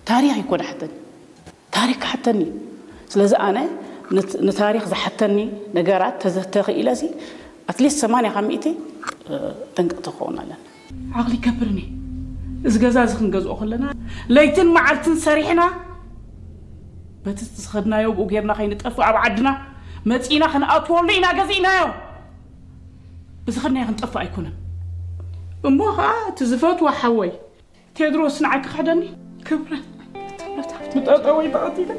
ታሪኽ ይኮ ዝሓተኒ፣ ታሪኽ ክሓተኒ እዩ። ስለዚ ኣነ ንት- ንታሪኽ ዝሓተኒ ነገራት ተዘተኽኢለ ሲ ኣትሊስት ሰማንያ ካብ ሚእቲ ጠንቀቕቲ ክኸውን ኣለና። ዓቕሊ ይከብርኒ። እዚ ገዛ እዚ ክንገዝኦ ከለና ለይትን መዓልትን ሰሪሕና በቲ ዝኸድናዮ ብኡ ጌርና ከይንጠፍእ ኣብ ዓድና መፂና ክንኣትወሉ ኢና ገዚእናዮ። ብዝኸድናዮ ክንጠፍእ ኣይኮነን። እሞ ከዓ እቲ ዝፈትዎ ሓወይ ቴድሮስ ንዓይ ክሕደኒ ክብረት ብጠጠወይ ተቐቲለ።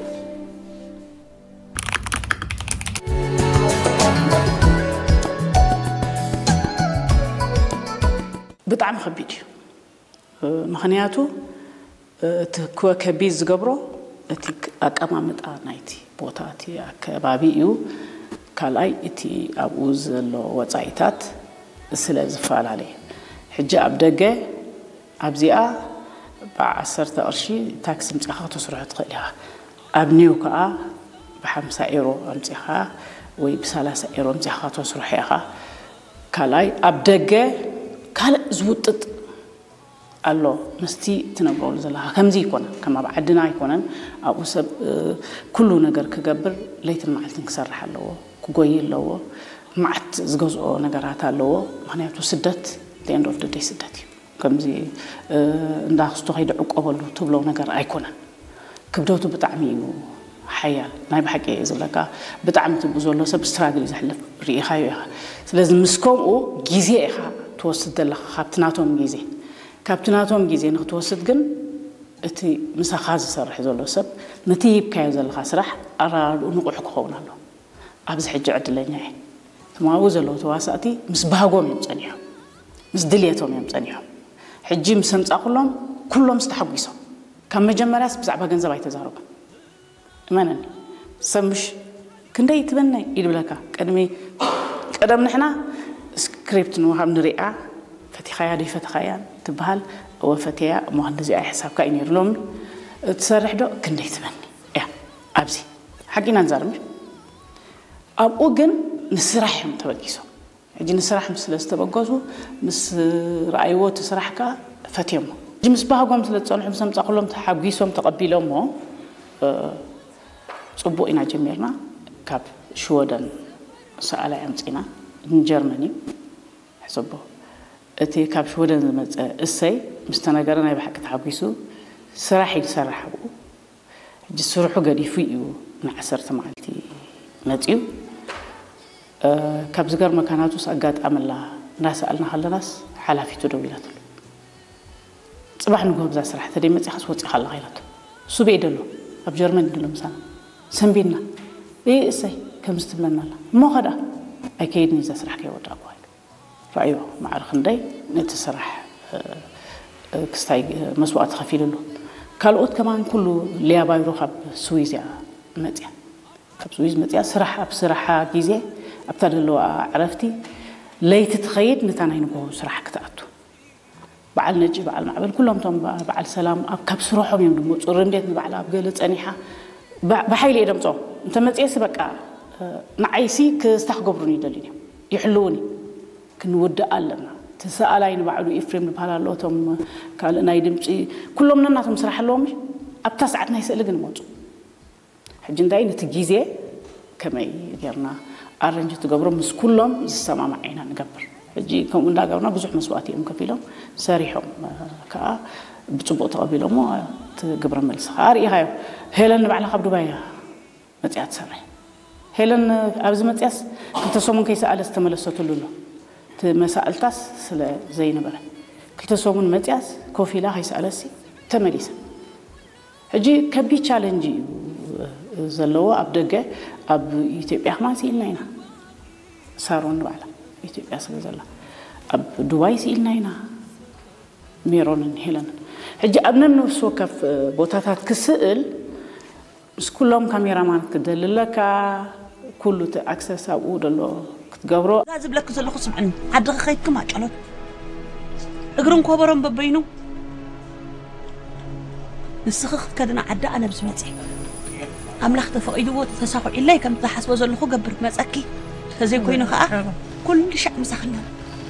ብጣዕሚ ከቢድ እዩ። ምኽንያቱ እቲ ክወ ከቢድ ዝገብሮ እቲ ኣቀማምጣ ናይቲ ቦታ እቲ ኣከባቢ እዩ። ካልኣይ እቲ ኣብኡ ዘሎ ወፃኢታት ስለ ዝፈላለየ ሕጂ ኣብ ደገ ኣብዚኣ ብዓሰርተ ቅርሺ ታክሲ ምፅኻ ከተስርሖ ትኽእል ኢኻ። ኣብ ኒው ከዓ ብሓምሳ ኤሮ ኣምፂኻ ወይ ብሰላሳ ኤሮ ኣምፂኻ ከተስርሖ ኢኻ። ካልኣይ ኣብ ደገ ካልእ ዝውጥጥ ኣሎ። ምስቲ ትነብረሉ ዘለኻ ከምዚ ኣይኮነን፣ ከም ኣብ ዓድና ኣይኮነን። ኣብኡ ሰብ ኩሉ ነገር ክገብር ለይትን መዓልትን ክሰርሕ ኣለዎ፣ ክጎይ ኣለዎ። መዓት ዝገዝኦ ነገራት ኣለዎ። ምክንያቱ ስደት end of the day ስደት እዩ። ከምዚ እንዳክስቶ ከይደ ዕቆበሉ ትብሎ ነገር ኣይኮነን። ክብደቱ ብጣዕሚ እዩ ሓያል። ናይ ብሓቂ እየ ዝብለካ፣ ብጣዕሚ ትብኡ ዘሎ ሰብ ስትራግል እዩ ዘሕልፍ፣ ርኢኻዮ ኢኻ። ስለዚ ምስ ከምኡ ግዜ ኢኻ ትወስድ ዘለኻ ካብቲ ናቶም ግዜ። ካብቲ ናቶም ግዜ ንክትወስድ ግን እቲ ምሳኻ ዝሰርሕ ዘሎ ሰብ ነቲ ሂብካዮ ዘለኻ ስራሕ ኣራድኡ ንቑሕ ክኸውን ኣሎ። ኣብዚ ሕጂ ዕድለኛ እየ። ትማኡ ዘለዉ ተዋሳእቲ ምስ ባህጎም እዮም ጸኒሖም፣ ምስ ድልየቶም እዮም ጸኒሖም። ሕጂ ምስ ኣምጻእኩሎም ኩሎም ዝተሓጒሶም። ካብ መጀመርያስ ብዛዕባ ገንዘብ ኣይተዛረቡን። እመነኒ፣ ሰብ ምሽ ክንደይ ትበነይ ይድብለካ። ቅድሚ ቀደም ንሕና ስክሪፕት ንወሃብ ንሪኣ፣ ፈቲኻያ ዶ ይፈተኻያ ትበሃል። እወ ፈትያ እሞ ክንዲዚኣ ሕሳብካ እዩ ነይሩ። ሎሚ ትሰርሕ ዶ ክንደይ ትበኒ እያ። ኣብዚ ሓቂና ንዛረብ ምሽ ኣብኡ ግን ንስራሕ እዮም ተበጊሶም። ሕጂ ንስራሕ ምስ ስለ ዝተበገሱ ምስ ረኣይዎ እቲ ስራሕ ከኣ ፈትዮሞ። ሕጂ ምስ ባህጎም ስለ ዝጸንሑ ምስ ኣምጻእኩሎም ተሓጒሶም ተቐቢሎሞ። ጽቡቕ ኢና ጀሚርና። ካብ ሽወደን ሰኣላይ ኣምጺና ንጀርመን እዩ ሕሰቦ። እቲ ካብ ሽወደን ዝመጸ እሰይ ምስ ተነገረ ናይ ብሓቂ ተሓጒሱ ስራሕ እዩ ዝሰርሕ ኣብኡ። ሕጂ ስርሑ ገዲፉ እዩ ንዓሰርተ መዓልቲ መጺኡ። ካብ ዝገርመካ ናቱስ ኣጋጣሚ ኣላ እንዳሰኣልና ከለናስ ሓላፊቱ ደዊላትሉ። ጽባሕ ንግሆ ብዛ ስራሕ ተደይ መጺኻስ ወጺኻ ኣለኻ ኢላቶ። እሱ በይ ደሎ ኣብ ጀርመን ደሎ ምሳና ሰንቢድና። እይ እሰይ ከምዚ ትብለና ኣላ እሞ ኸዳ ኣይከይድን እዛ ስራሕ ከይወዳእኩ ኢሉ። ራእዮ ማዕረ ክንደይ ነቲ ስራሕ ክስታይ መስዋእቲ ከፊልሉ። ካልኦት ከማን ኩሉ ሊያ ባይሮ ካብ ስዊዝ እያ መፅያ። ካብ ስዊዝ መፅያ ስራሕ ኣብ ስራሓ ግዜ ኣብታ ዘለዋ ዕረፍቲ ለይቲ ትኸይድ ነታ ናይ ንግሆ ስራሕ ክትኣቱ። በዓል ነጂ በዓል ማዕበል ኩሎም እቶም በዓል ሰላም ኣብ ካብ ስራሖም እዮም ድሞ ፅርምቤት ንባዕላ ኣብ ገለ ፀኒሓ ብሓይሊ እየ ደምፆም እንተመፅየሲ በቃ ንዓይሲ ክስታ ክገብሩን ይደልዩን እዮም ይሕልውን እዩ። ክንውድእ ኣለና። እቲ ሰኣላይ ንባዕሉ ኢፍሬም ዝበሃል ኣሎ፣ እቶም ካልእ ናይ ድምፂ ኩሎም ነናቶም ስራሕ ኣለዎም። ኣብታ ሰዓት ናይ ስእሊ ግን ይመፁ። ሕጂ እንታይ ነቲ ግዜ ከመይ ጌርና ኣረንጅ ትገብሮ ምስ ኩሎም ዝሰማማዕ ኢና ንገብር። ሕጂ ከምኡ እንዳገብርና ብዙሕ መስዋእቲ እዮም ከፊሎም ሰሪሖም ከዓ ብፅቡቅ ተቐቢሎሞ እቲ ግብረ መልሲ ከዓ ርኢኻዮ። ሄለን ንባዕላ ካብ ዱባይ እያ መፅያ ትሰርሕ። ሄለን ኣብዚ መፅያስ ክልተ ሰሙን ከይሰኣለ ዝተመለሰትሉ ኣሎ። እቲ መሳእልታስ ስለ ዘይነበረ ክልተ ሰሙን መፅያስ ኮፍ ኢላ ከይሰኣለሲ ተመሊሳ። ሕጂ ከቢድ ቻለንጅ እዩ ዘለዎ ኣብ ደገ። ኣብ ኢትዮጵያ ከማን ስኢልና ኢና። ሳሮን ንባዕላ ኢትዮጵያ ስለ ዘላ ኣብ ዱባይ ስኢልና ኢና። ሜሮንን ሄለንን ሕጂ ኣብ ነብሲ ወከፍ ቦታታት ክስእል ምስ ኩሎም ካሜራማን ክደሊ ኣለካ። ኩሉ እቲ ኣክሰስ ኣብኡ ደሎ ክትገብሮ። እዛ ዝብለኪ ዘለኹ ስምዕኒ፣ ዓድኺ ከይድኪ ማጨሎት እግርን ኮበሮን በበይኑ ንስኺ ክትከድና ዓዲ ኣነ ብዝመፅእ ኣምላኽ ተፈቒድዎ ተሳኹዒለይ ከም ዝሓስቦ ዘለኹ ገብር መፀኪ። ተዘይኮይኑ ከዓ ኩሉ ሻዕ ምሳኽና